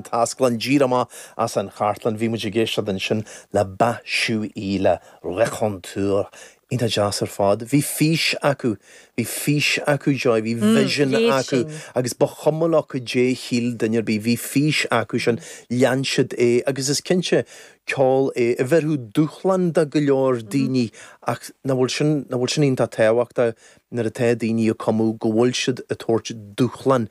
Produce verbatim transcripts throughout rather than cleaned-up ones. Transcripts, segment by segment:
Taisclann díreach amach as an chartlann bhí muid ag éisteacht ansin le Ba-Shu-Ee le Raconteur. Iontach deas ar fad. Bhí fís acu, bhí fís acu Joy, bhí vision acu agus ba chuma leo caidé shíl duine ar bith, bhí fís acu sin lean siad é agus is cinnte ceol é a bheirfeadh dúshlán do go leor daoine ach nach bhfuil sin nach bhfuil sin iontach tábhachtach nuair atá daoine ag cumadh go bhfuil siad ag tabhairt dúshlán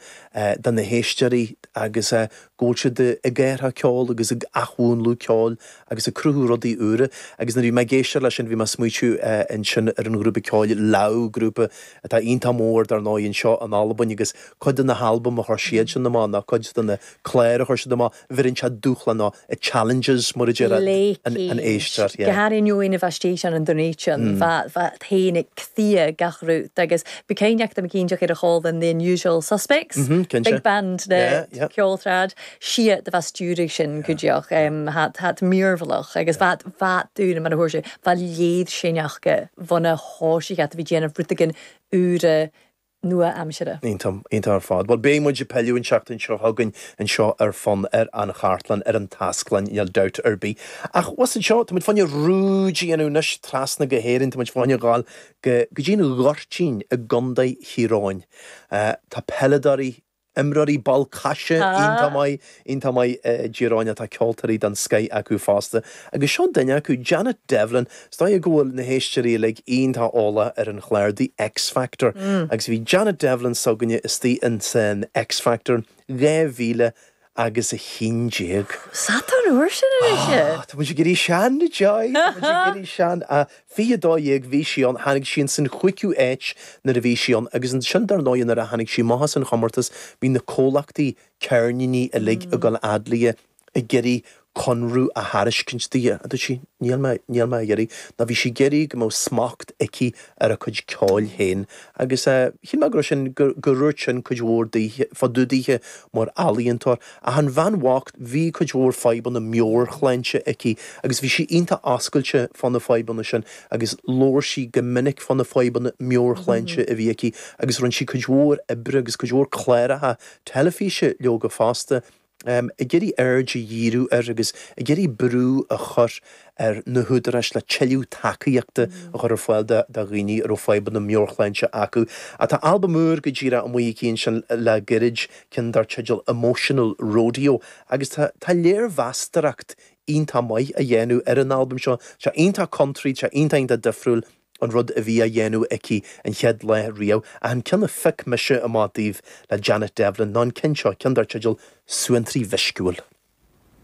do na héisteoirí agus go bhfuil siad ag athrú ceol agus ag athmhúnlú ceoil agus ag cruthú rudaí úra agus nuair bhí mé ag éisteacht leis sin bhí mé ag smaoitiú ansin ar an ghrúpa ceoil Lau grúpa atá iontach mór dar ndóigh anseo in Albain agus cuid de na halbaim a chuir siad sin amach ná cuid de na cláir a chuir siad amach bheireann sé dúshlán nó challenges mar a deir an an éisteoir. Go háirithe a bheith an donation féin cthia gach rud agus be céineach am cíteach ar a cháil the unusual suspects big band na ceoltrad si de bheith stiúraigh sin cuideach hat mírmhalach agus bheit bheit dúna mar a thuair sé bheit léad sinneachcha bhuna háisi a bhí déanamh rudaí úra nua-aimsire. Iontach ar fad. Well beidh muid ag pilleadh an seachtain seo chugainn anseo ar Fonn ar an chartlann ar an Taisclann níl dabht ar bith. Ach was anseo tá muid fá choinne rúid a dhéanamh anois trasna go hÉirinn tá muid fá choinne ghabháil go go dtí an Ghoirtín i gContae Thír Eoghain. Tá peileadóirí imreoirí ball caise iontach maith iontach maith i dTír Eoghain atá ceoltóirí den scoth acu fosta. Agus seo duine acu Janet Devlin, is dóigh go bhfuil na héisteoirí uilig iontach eolach ar an chlár The X Factor. Mm. Agus bhí Janet Devlin s'againne istigh in san X Factor dhá mhíle agus a haon déag. Sa uair sin ah, Tá muid ag éirí sean Joy éirí sean a fiche dó dhéag bhí sí ann tháinig sí san chúigiú háit nuair a bhí sí ann agus ansin dar ndóigh nuair a tháinig sí amach as an chomórtas bhí na comhlachtaí ceirníní uilig ag dul fhad léi ag iarraidh conradh a thairiscint di a dúirt sí níl mé níl mé ag iarraidh ná bhí sí ag iarraidh go mbeadh smacht aici ar a cuid ceoil féin agus shíl mé go raibh sin gur dhúirt sin cuid mhór daoithe fá dtaobh daoithe mar ealaíontóir ach an bhean bhocht bhí cuid mhór fadhbanna meabhairshláinte aici agus bhí sí iontach oscailte fá na fadhbanna sin agus labhair sí go minic fá na fadhbanna meabhairshláinte a bhí aici agus rinne sí cuid mhór oibre agus cuid mhór cláracha teilifíse leoga fosta um, ag iarraidh aird a dhíriú air agus ag iarraidh brú a chur ar na húdaráis le tuilleadh tacaíochta a chur ar fáil do dhaoine a raibh fadhbanna meabhairshláinte acu. A tá albam úr go díreach amuigh aici ansin le gairid ceann dar teideal Emotional Rodeo agus tá tá léirmheastóireacht iontach maith á dhéanamh ar an albam seo, sé iontach country, sé iontach iontach difriúil an rud a bhí á dhéanamh aici an chéad lá riamh a an ceann a phioc mise amach daoibh le Janet Devlin ná an ceann seo ceann dar teideal Suantraí Mhisciúil.